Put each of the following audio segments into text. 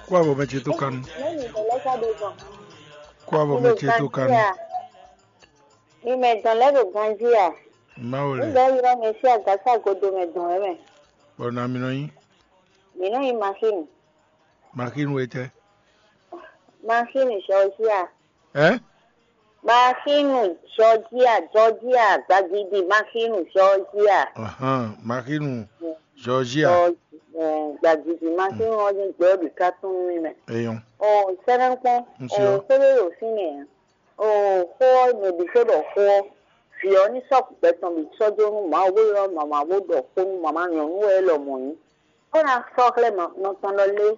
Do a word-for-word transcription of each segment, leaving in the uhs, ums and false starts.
Kó avɔ mɛ ce tó kanu. Mɛni ɖe lɛ́ ka ɖo gbɔn? Kó avɔ mɛ ce tó kanu. Mi mɛ dɔn lɛ́ ɖo ganjí a? Mawu lɛ. Nígbà yìí lọ mi sí àgásá godo mɛ dɔn ɛ mɛ. Bɔ na mi nɔ nyi. Mi nɔ nyi machine. Machine wɛ tɛ. Machine Georgia. Ɛ? Machine Georgia, Georgia, gbagidi machine Georgia. Ahan, machine Georgia. Gbagidi machine wọn ní gbẹ ọdún ká tún mí mɛ. Eyɔn. Ɔ sɛnɛkpɔn. Nsúlọ. Ɔ kódó yóò sí nìyẹn. Ɔ xó ɔ mɛ bí sódò xó ɔ. Vǐ ɔ ní sɔ́ gbɛtɔn bí sɔ́ jó nú Mawu bó ylɔ́ mama bó ɖɔ xó nú mama nyɔ̌nu wɛ é lɔ mɔ̌ nyí. Bó ná sɔ́ xlɛ́ nɔ tɔn lɔ lé.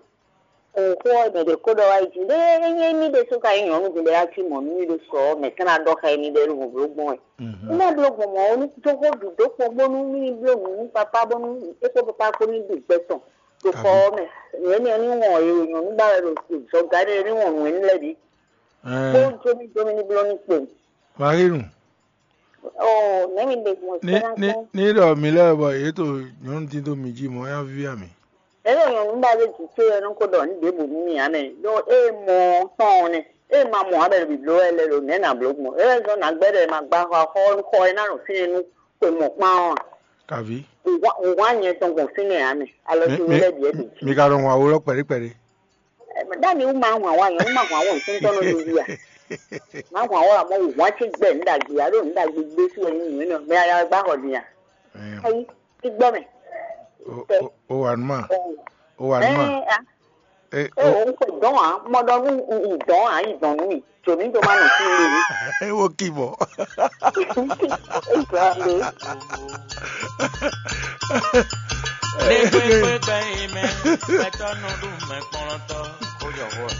Xó ɔ́ mɛ ɖě ko ɖɔ wá yi jǐ ɖé é nyí émí ɖésú ka nyí nyɔ̌nu din bɔ é wá cí mɔ̌ nú mì ɖo sɔ ɔ́ mɛ tɛ́ ná ɖɔ xá émí ɖɔ é ɖo nǔ bló gbɔn wɛ. É ná bló gbɔn mɔ̌ ó ní dó xó bǐ dó kpɔ́n bónú mì ní bló nǔ nú papá bónú é kpó papá kpó ní ɖu gbɛ tɔn ɖo xɔ ɔ́ mɛ. Nyɔ̌nu énɛ́ ɔ́ ní wɔn e nyɔ̌nu ba wɛ ɖo zɔga énɛ́ ní wɔn nǔ énɛ́ lɛ́ɛ bǐ. Kpó jómí jómí ní bló ní kpowun. Marínu. Ní ní ní ɖɔ mǐ lɛ́ɛ bɔ yě to nyɔ̌nu dín dó mǐ jí mɔ̌ é ná víví a mǐ. Ényí nyɔ̌nu ba ɖé jǐ ce ɔ́ nɔ ko ɖɔ nǔ ɖěbǔ nú mì ǎ mɛ, ɖó ée mɔ ɔ́ tɔn ɔ́ nɛ́, ée ma mɔ ǎ bɔ è ɖo bǐbló wɛ lɛ́ɛ ɖo nɛ̌ nǎ bló gbɔn? É wɛ zɔ́n nǎ gbɛ́ ɖɔ è ma gbá xɔ xɔ xɔ e ná ɖo fínɛ́ nú xwe mɔ̌kpán ɔ́ a? Kàví. Wǔhwan nyɛ tɔn gbɔn fínɛ́ ǎ mɛ, alɔ ce wú lɛ́ɛ bǐ wɛ ɖo jǐ. Mi ka nɔ hun awó lɔ kpɛɖé kpɛɖé. Ɖ'ami wú ma hwan wa nyɔ̌nu ma hwan wɔ ntɔ́ntɔ́ nɔ ɖo yí a? Ma hwan wɔ amɔ wǔ hwan ce gbɛ nǔ ɖagbe alo nǔ ɖagbe gbé sú wɛ nyí nǔ nɔ mɛ aya gbá xɔ din a? Ayi, ti gbɔ mɛ. O wa numa. O wa numa. Ɛ a. E o o ko dɔn a mɔ dɔ nu u dɔn a yi dɔn nu mi. Tso mi do ma nɔ fi le mi. E wo ki bɔ. Exactly. Lé gbégbé gbẹ̀yìn mẹ́, gbẹ̀tọ́ nɔ ɖu mẹ́ kplɔ́ntɔ́.